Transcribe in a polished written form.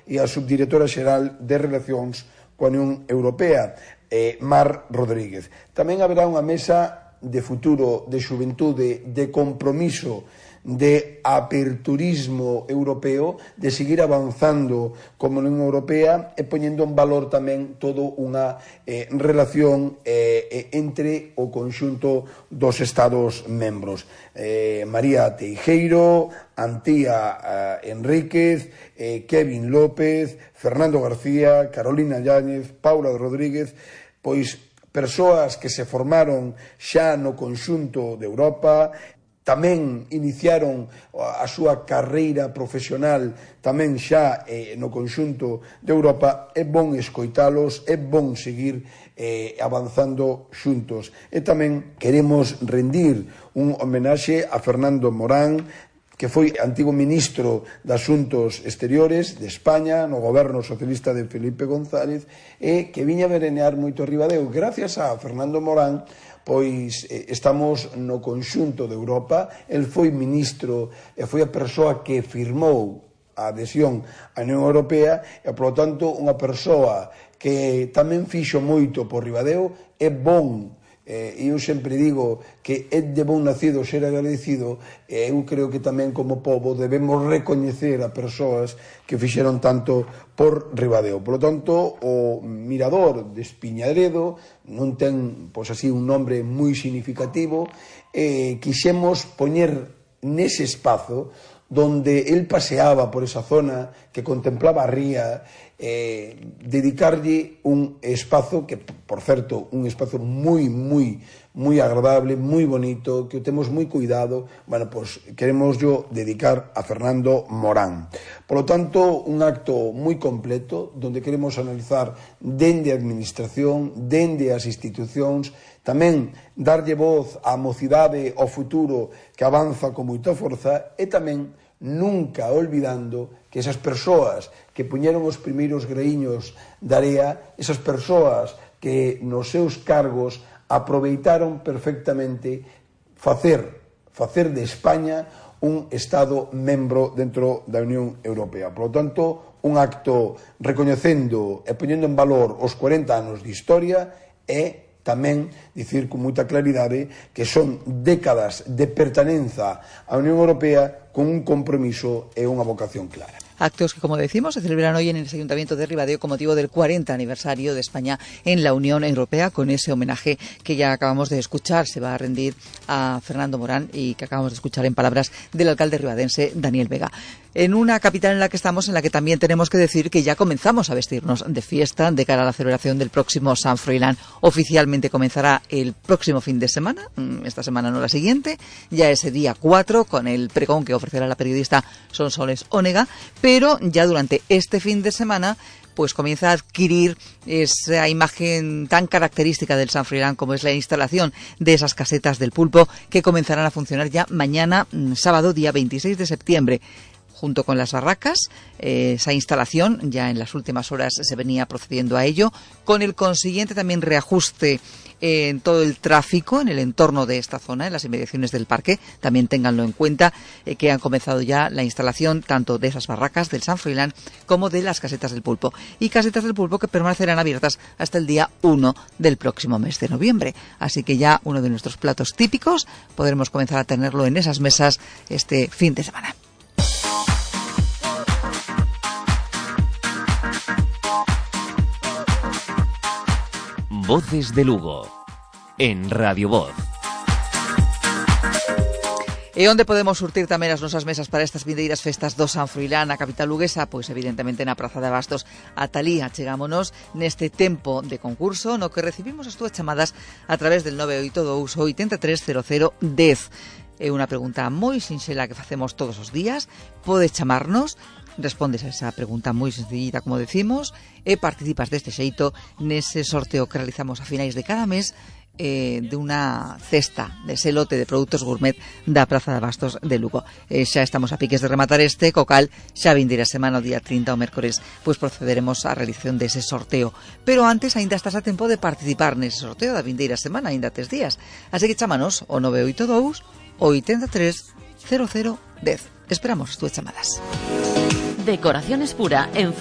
e a subdirectora xeral de Relacións coa Unión Europea, Mar Rodríguez. Tamén haberá unha mesa de futuro, de xuventude, de compromiso, de aperturismo europeo, de seguir avanzando como Unión Europea e poñendo en valor tamén toda unha relación entre o conxunto dos Estados membros. María Teijeiro, Antía Enríquez, Kevin López, Fernando García, Carolina Yáñez, Paula Rodríguez, pois persoas que se formaron xa no conxunto de Europa, tamén iniciaron a súa carreira profesional tamén xa no conxunto de Europa. É bon escoitalos, é bon seguir avanzando xuntos. E tamén queremos rendir un homenaxe a Fernando Morán, que foi antigo ministro de Asuntos Exteriores de España no goberno socialista de Felipe González e que viña a verenear moito Ribadeo. Gracias a Fernando Morán, pois estamos no conxunto de Europa. El foi ministro e foi a persoa que firmou a adhesión á Unión Europea e, polo tanto, unha persoa que tamén fixo moito por Ribadeo. É bon, eu sempre digo que é de bon nacido ser agradecido, e eu creo que tamén como pobo debemos recoñecer a persoas que fixeron tanto por Ribadeo. Por lo tanto, o Mirador de Espiñadredo non ten, pois así, un nombre moi significativo, quixemos poñer nese espazo donde el paseaba por esa zona, que contemplaba a ría, dedicarlle un espazo que, por certo, un espazo moi agradable, moi bonito, que o temos moi cuidado. Bueno, pois queremos yo dedicar a Fernando Morán. Por lo tanto, un acto moi completo, donde queremos analizar dende a administración, dende as institucións, tamén darlle voz á mocidade, ao futuro que avanza con moita forza, e tamén nunca olvidando que esas persoas que puñeron os primeiros graíños da area, esas persoas que nos seus cargos aproveitaron perfectamente facer de España un Estado membro dentro da Unión Europea. Por lo tanto, un acto recoñecendo e poñendo en valor os 40 anos de historia e tamén dicir con moita claridade que son décadas de pertenenza á Unión Europea con un compromiso e unha vocación clara. Actos que, como decimos, se celebran hoy en el Ayuntamiento de Ribadeo con motivo del 40 aniversario de España en la Unión Europea, con ese homenaje que ya acabamos de escuchar. Se va a rendir a Fernando Morán y que acabamos de escuchar en palabras del alcalde ribadense, Daniel Vega. En una capital en la que estamos, en la que también tenemos que decir que ya comenzamos a vestirnos de fiesta de cara a la celebración del próximo Sant Froilán. Oficialmente comenzará el próximo fin de semana, esta semana no la siguiente, ya ese día 4, con el pregón que ofrecerá la periodista Sonsoles Onega, pero ya durante este fin de semana pues comienza a adquirir esa imagen tan característica del Sant Froilán como es la instalación de esas casetas del pulpo, que comenzarán a funcionar ya mañana, sábado, día 26 de septiembre. Junto con las barracas, esa instalación ya en las últimas horas se venía procediendo a ello, con el consiguiente también reajuste en todo el tráfico en el entorno de esta zona, en las inmediaciones del parque. También ténganlo en cuenta, que han comenzado ya la instalación tanto de esas barracas del Sant Froilán como de las casetas del pulpo. Y casetas del pulpo que permanecerán abiertas hasta el día 1 del próximo mes de noviembre. Así que ya uno de nuestros platos típicos podremos comenzar a tenerlo en esas mesas este fin de semana. Voces de Lugo, en Radio Voz. E onde podemos surtir tamén as nosas mesas para estas vindeiras festas do Sant Froilán, a capital luguesa? Pois evidentemente na Praza de Abastos. Ata alí achegámonos neste tempo de concurso no que recibimos as túas chamadas a través del 982 830010. É unha pregunta moi sinxela que facemos todos os días. Podes chamarnos, respondes a esa pregunta moi sencillita, como decimos, e participas deste xeito nese sorteo que realizamos a finais de cada mes de unha cesta dese lote de produtos gourmet da Praza de Abastos de Lugo. Xa estamos a piques de rematar este, co cal xa vindeira semana, o día 30 o mércores, pois procederemos á realización dese sorteo. Pero antes aínda estás a tempo de participar nese sorteo da vindeira semana, aínda tes días. Así que chámanos o 982 830010. Esperamos as túas chamadas. Decoraciones Pura en